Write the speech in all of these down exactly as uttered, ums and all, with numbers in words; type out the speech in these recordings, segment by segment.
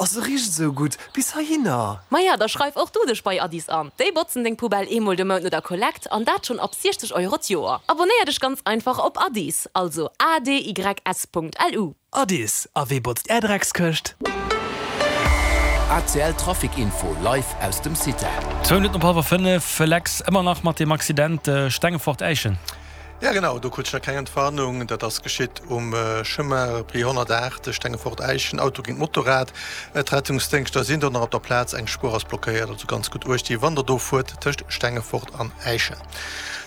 A se richt esou gutt, bis heihinner. Maja, da schreif och du dech bei Adys an. Déi botzen deng Poubelle eemol de Mount no der Kollekt an dat schonn ab siechzeg Euro d'Joer. Abonéier dech ganz einfach op Adys, also A D Y S Punkt L U. Adys, a wee botzt är Dreckskëscht? A C L Trafic Info live aus dem Cita. Zwou Minutten op hallwer fënnef, Lex, ëmmer nach mat deem Accident Stengefort-Äischen. Ja genau, do krut ech nach keng Entwarnung. Dat ass geschitt um Chemin Repris honnertaacht, Stengefort-Äischen, Auto géint Motorrad. D'Rettungsdéngschter sinn do nach op der Plaz, eng Spuer ass blockéiert. Also ganz gutt Uecht gi wann der do fuert tëscht Stengefort an Äischen.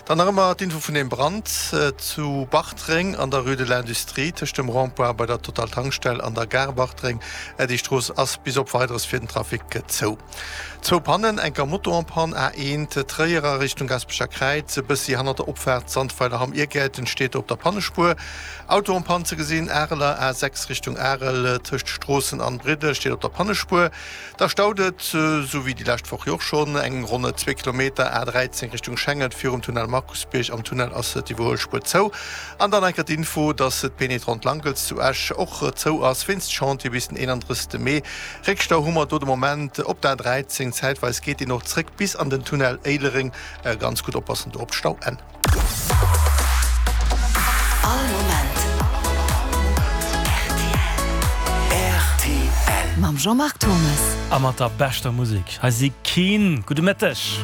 Dann nach ëmmer d'Info vun deem Brand zu Bartreng an der Rue de l'Industrie tëscht dem Rond-point bei der Total Tankstell an der Gare Bartreng. Déi Strooss ass bis op Weideres fir den Trafic zou. Zwou Pannen, enker Moto en panne, A eent Tréier a Richtung Gaspecher Kräiz, e bëssi hannert der Opfaart Sandweiler Hamm Irgäerten steet op der Pannespuer. Auto en panne ze gesinn, Areler A sechs Richtung Arel tëscht Stroossen an Briddel steet op der Pannespuer. Da staut et, sou wéi déi lescht Woch jo och schonn, eng ronn zwee Kilometer A dräizéng Richtung Schengen virum Tunnel Markusbierg. Am Tunnel ass d'Iwwerhuelspuer zou. An dann enker d'Info, dass d'Pénétrante Langels zu Esch och zou ass wéinst Chantier bis den eenandrëssegste Mee. Réckstau hu mer do de Moment op der A dräizéng, zäitweis geet deen och zréck bis an den Tunnel Éilereng. Ganz gutt oppassen do op d'Stauenn. All Moment R T L. Mam Jean-Marc Thomes. A mat der beschter Musek. Hei si Keen. Gudde Mëtteg.